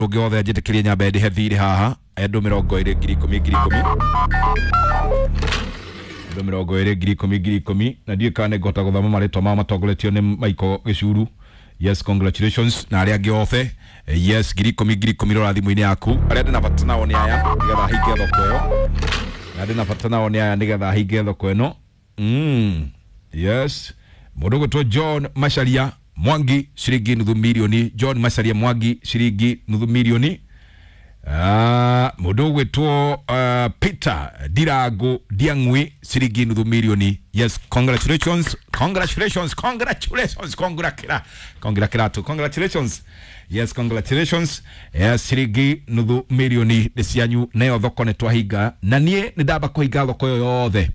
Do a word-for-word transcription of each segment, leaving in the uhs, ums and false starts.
Ũngĩ wothe njĩtĩkĩrie nyambe ndĩhe thirĩ haha andũ mĩrongo ĩrĩ ngiri ikũmi ngiri ikũmi, andũ mĩrongo ĩrĩ ngiri ikũmi ngiri ikũmi, na ndiũĩ kana nĩngũhota gũthoma marĩtwa mao matongoretio nĩ Michael Gĩcuru. Yes, congratulations na arĩa angĩ othe. Yes, ngiri ikũmi ngiri ikũmi, rora thimũ-inĩ yaku. Arĩa ndĩna bata nao nĩ aya nĩgetha hinge thoko ĩyo. Arĩa ndĩna bata nao nĩ aya nĩgetha hinge thoko ĩno. mm. Yes, mũndũ ũgwĩtwo John Macharia Mwangi, ciringi nuthu milioni. John Macharia Mwangi, ciringi nuthu milioni. Ah, mũndũ ũgwĩtwo uh, Peter Ndirango Ndiang'ui, ciringi nuthu milioni. Yes, congratulations, congratulations, congratulations, congratulations, congratulations, congratulations. Yes, congratulations. Yes, ciringi nuthu milioni nĩ cianyu. Nayo thoko nĩ twahinga, na niĩ nĩ ndamba kũhinga thoko ĩyo yothe,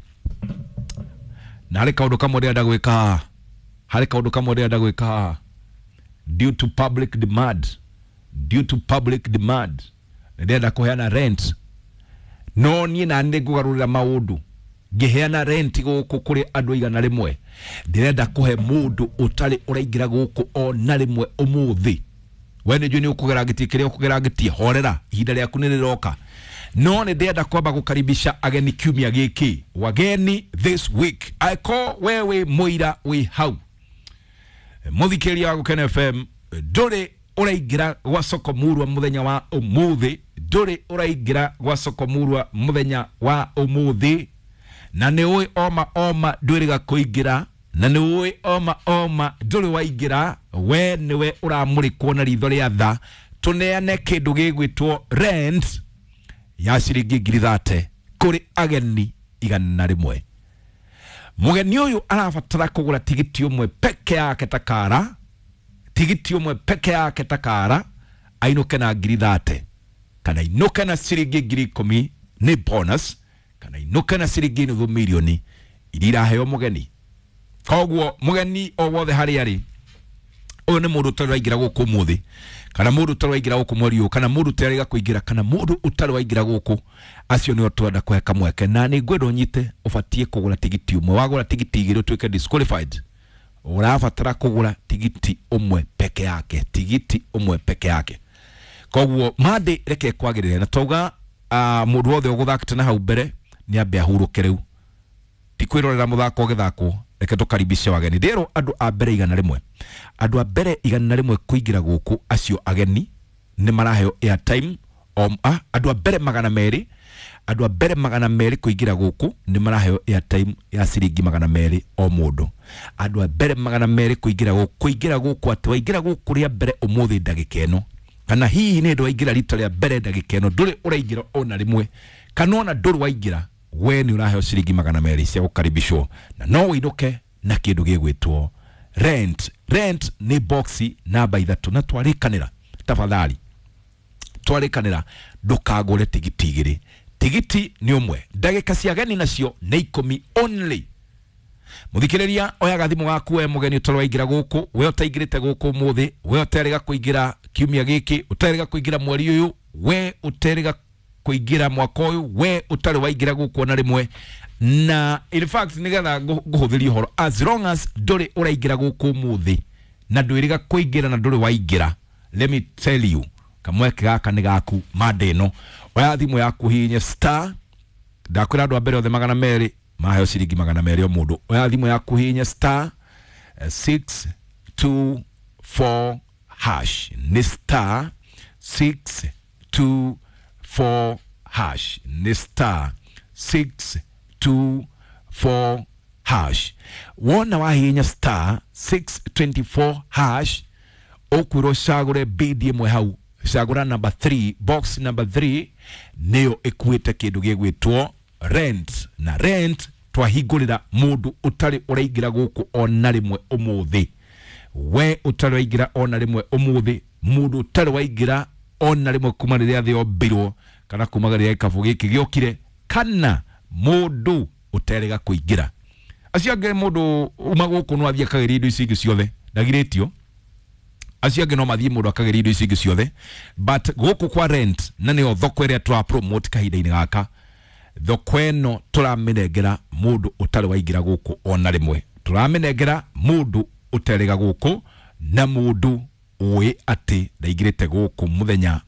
na harĩ kaũndũ kamwe ndĩrenda gwĩka haha, harĩ kaũndũ kamwe ndĩrenda gwĩka haha. Due to public demand, due to public demand, ndĩrenda kũheana rent, no niĩ na nĩ ngũgarũrĩra maũndũ ngĩheana rent gũkũ kũrĩ andũ igana rĩmwe. Ndĩrenda kũhe mũndũ ũtarĩ ũraingĩra gũkũ o na rĩmwe ũmũthĩ. We nĩ njũĩ nĩ ũkũgera ngĩtie kĩrĩa ũkũgera ngĩtie, horera, ihinda rĩaku nĩ rĩroka. No nĩ ndĩrenda kwamba gũkaribisha ageni kiumia gĩkĩ, wageni this week. Angĩkorwo we wĩ mũira wĩ hau, mũthikĩrĩria wa Gũkena F M, ndũrĩ ũraingĩra gwa soko murwa mũthenya wa ũmũthĩ, ndũrĩ ũraingĩra gwa soko murwa mũthenya wa ũmũthĩ, na nĩ ũĩ oma oma ndwĩrĩga kũingĩra, na nĩ ũĩ oma oma ndũrĩ waingĩra, we nĩwe ũramũrĩkwo na ritho rĩa tha tũneane kĩndũ gĩgwĩtwo rent ya ciringi ngiri thate kũrĩ ageni igana rĩmwe. Mũgeni ũyũ arabatara kũgũra tigiti ũmwe peke yake takara, tigiti ũmwe peke yake takara, ainũke na ngiri thate kana ainũke na ciringi ngiri ikũmi nĩ bonus, kana ainũke na ciringi nuthu milioni iria iraheo mũgeni. Koguo mũgeni o wothe harĩa arĩ, ũyũ nĩ mũndũ ũtarĩ waingĩra gũkũ ũmũthĩ, kana mũndũ ũtarĩ waingĩra gũkũ mweri ũyũ, kana mũndũ ũtarĩ kũingĩra, kana mũndũ ũtarĩ waingĩra gũkũ, acio nĩo twenda kũhe kamweke. Na nĩ ngwenda ũnyite, ũbatiĩ kũgũra tigiti ũmwe. Wagũra tigiti igĩrĩ ũtuĩke disqualified. Ũrabatara kũgũra tigiti ũmwe peke yake, tigiti ũmwe peke yake. Koguo mande reke kwagĩrĩre na twauga uh, mũndũ wothe ũgũthakĩte na hau mbere nĩ ambe ahurũke rĩu, ti kwĩrorera mũthako ũgĩthakwo. Reke tũkaribishe wageni. Ndĩrwo andũ a mbere igana rĩmwe, andũ a mbere igana rĩmwe kũingĩra gũkũ, acio ageni nĩ maraheo airtime. Om, ah, andũ a mbere magana merĩ, andũ a mbere magana merĩ kũingĩra gũkũ nĩ maraheo airtime ya ciringi magana merĩ o mũndũ. Andũ a mbere magana merĩ kũingĩra gũkũ, kũingĩra gũkũ atĩ waingĩra gũkũ rĩa mbere ũmũthĩ ndagĩka ĩno, kana hihi nĩ ndũ waingĩra rita rĩa mbere ndagĩka ĩno, ndũrĩ ũraingĩra ona rĩmwe, kana ona ndũrĩ waingĩra, we nĩ ũraheo ciringi magana merĩ cia gũkaribishwo, na no ũinũke na kĩndũ gĩgwĩtwo rent. Rent nĩ boxi namba ithatũ. Na twarĩkanĩra, tafadhali, twarĩkanĩra ndũkagũre tigiti igĩrĩ, tigiti nĩ ũmwe. Ndagĩka cia ageni nacio nĩ ikũmi only. Mũthikĩrĩria, oyaga thimũ gaku, we mũgeni ũtarĩ waingĩra gũkũ, we ũtaingĩrĩte gũkũ ũmũthĩ, we ũterĩga kũingĩra kiumia gĩkĩ, ũterĩga kũingĩra mweri ũyũ, we ũterĩga kũingĩra mwaka ũyũ, we ũtarĩ waingĩra gũkũ ona rĩmwe. Na in fact, nĩgetha ngũ- ngũhũthĩrie ũhoro, as long as ndũrĩ ũraingĩra gũkũ ũmũthĩ na ndwĩrĩga kũingĩra na ndũrĩ waingĩra, let me tell you, kamweke gaka nĩ gaku. Mande ĩno, oya thimũ yaku, hihinye star. Ndakwĩra andũ a mbere othe magana merĩ maheo ciringi magana merĩ o mũndũ. Oya thimũ yaku, hihinye star eh, six two four hash. Nĩ star six two four hash, nĩ star six two four hash. Wona wahihinya star six twenty four hash, ũkwĩrwo cagũre bid ĩmwe hau. Cagũra number three, box number three nĩyo ĩkuĩte kĩndũ gĩgwĩtwo rent. Na rent twahingũrĩra mũndũ ũtarĩ ũraingĩra gũkũ ona rĩmwe ũmũthĩ, we ũtarĩ waingĩra ona rĩmwe ũmũthĩ, mũndũ ũtarĩ waingĩra ona rĩmwe kuma rĩrĩa thĩ yombirwo, kana kuma rĩrĩa gĩkabũ gĩkĩ gĩokire, kana mũndũ ũterĩga kũingĩra. Acio angĩ, mũndũ uma gũkũ no athiĩ akageria indo ici ingĩ ciothe, ndagirĩtio. Acio angĩ no mathiĩ mũndũ akageria indo ici ingĩ ciothe, but gũkũ kwa rent, na nĩyo thoko ĩrĩa tũra promote kahinda-inĩ gaka, thoko ĩno tũramĩnengera mũndũ ũtarĩ waingĩra gũkũ ona rĩmwe, tũramĩnengera mũndũ ũterĩga gũkũ na mũndũ Ũĩ atĩ ndaingĩrĩte gũkũ mũthenya.